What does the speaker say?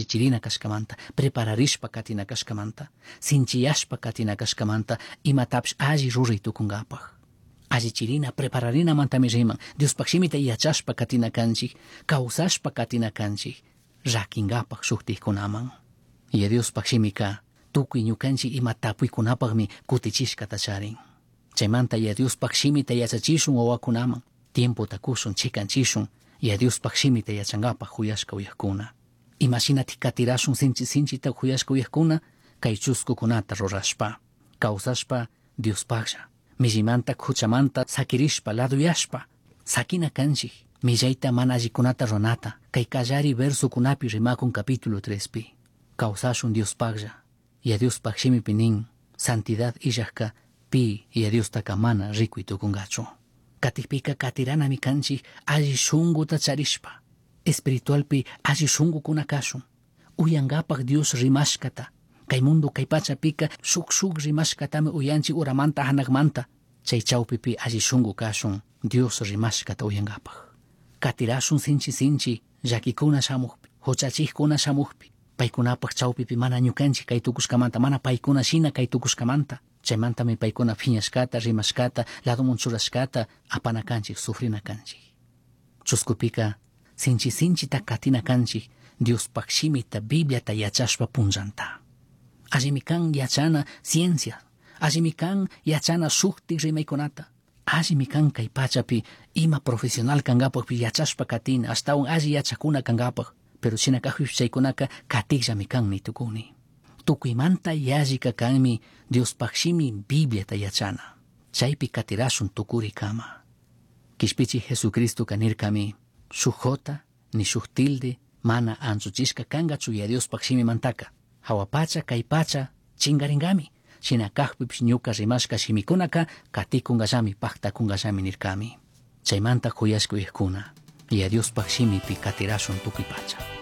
Allichirina cashcamanta, prepararishpa katina cashcamanta, sinchiyashpa katina cashcamanta, imatapish alli ruray tucungapaj. Allichirina, prepararinamantami riman. Diospaj shimita yachashpa katina kanchik, kawsashpa katina kanchik, rakinkapaj shuktikkunaman. Y Diospaj shimika tukuy ñukanchik ima tapuykunapajmi kutichishkata charin. Chaymanta ya Diospaj shimita yachachishun wawakunaman, tiempota kushun, chikanchishun, ya Diospaj shimita yachankapaj huyashka uyajkuna. Imashinatik katirashun sinchi sinchita huyashka uyajkuna, kay chuskukunata rurashpa, kawsashpa Diospajlla, millimanta huchamanta sakirishpa, laduyashpa, sakina kanchik, millayta mana allikunata ruranata, kay kallari versokunapi rimakun capítulo 3pi. Kawsashun Diospajlla, ya Diospaj shimipi nin, santidad illajka pi ya Diostaka mana rikuy tukungachu. Katikpika katiranami kanchik alli shunguta charishpa, espiritualpi alli shungukuna kashun, uyankapaj Dios rimashkata, kay mundo kay pachapika shuk shuk rimashkatami uyanchik uramanta hanakmanta, chay chawpipi alli shungu kashun Dios rimashkata uyankapaj. Katirashun sinchi sinchi llakikuna shamukpi, huchachikkuna shamukpi, paykunapaj chawpipi mana ñukanchik kay tukushkamanta, mana paykuna shina kay tukushkamanta, chaymantami paykuna phiñashkata, rimashkata, ladomun churashkata apana kanchik, sufrina kanchik. Chuskupika sinchi sinchita katina kanchik Diospaj shimita, Bibliata yachashpa punllanta. Allimi kan yachana ciencia, allimi kan yachana shuktik rimaykunata, allimi kan kay pachapi ima profesional kankapakpi yachashpa katina, ashtawan alli yachakuna kankapak, pero shina kajpipish chaykunaka katikllami kan nitukuni. Tukuymanta yallika kanmi Diospaj shimi Bibliata yachana. Chaypi katirashun tukurikama. Kishpichi Jesucristoka nirkami, shuk jota ni shuk tilde mana anchuchishka kankachu ya Diospaj shimimantaka. Hawa pacha kay pacha chingaringami. Shina kajpipish ñuka rimashka shimikunaka katikunkallami, paktakunkallami nirkami. Chaymanta huyashka uyajkuna, ya Diospaj shimipi katirashun tukuy pacha.